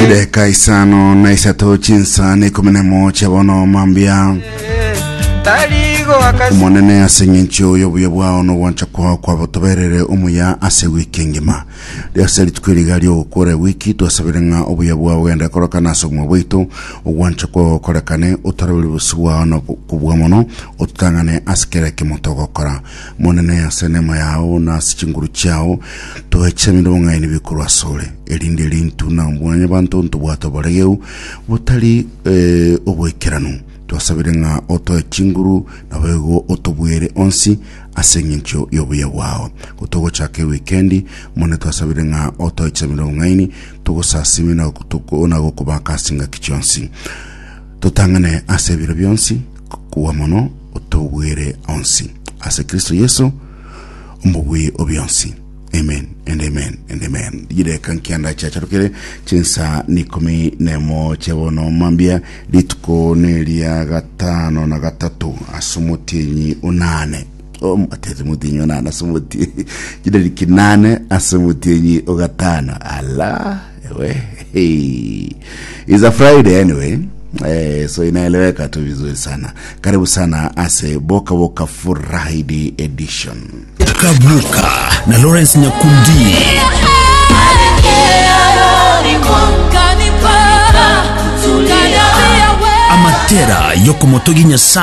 Chideka isano na isato chinsa na ikomi na emo chia bono mambia. Omonene ase eng'encho y'obuya bwao na ogwancha kwao kwabotoberere omuya ase ewiki engima. Ase rituko eri iga ri'ogokora ewiki twasabire ng'a obuya bwao bogende korokana ase obogima bwaito, ogwancha kwao gokorekane, otorobere obosio bwao na kobua mono, ototang'ane ase kera ekemo togokora. Omonene ase enema yao na ase chinguru chiao, toe chisamire obong'aini bikorwa asore, erinde rintwe na mwanyabanto ntobwate oboregeu botari eh, oboikeranu. Twasabire ng'a otoe chinguru, naboigo otobuere onsi ase engencho y'obuya bwao. Gotogochaka ewikendi, Omonene twasabire ng'a otoe chisamire obong'aini, togosasime na gotoko- na gokobaka ase chingaki chionsi. Totang'ane ase ebiro bionsi, kobua mono otobwere onsi. Ase Kristo Yeso, omobui o bionsi. Amen and amen and amen. Chidakika nkianda chiacharokire chinsa nikomi nemo chia bono mambia rituko neria gatano na gatato ase omotienyi onane Oh, atete omotienyi onane ase omotienyi chidariki nane ase omotienyi ogatano ala ewe hey. It's a Friday anyway Eh, so inaeleweka tu vizuri sana. Karibu sana ase Boka Boka Friday edition. Kabuka na Lawrence Nyakundi. Amatera yokomotogia Nyasae.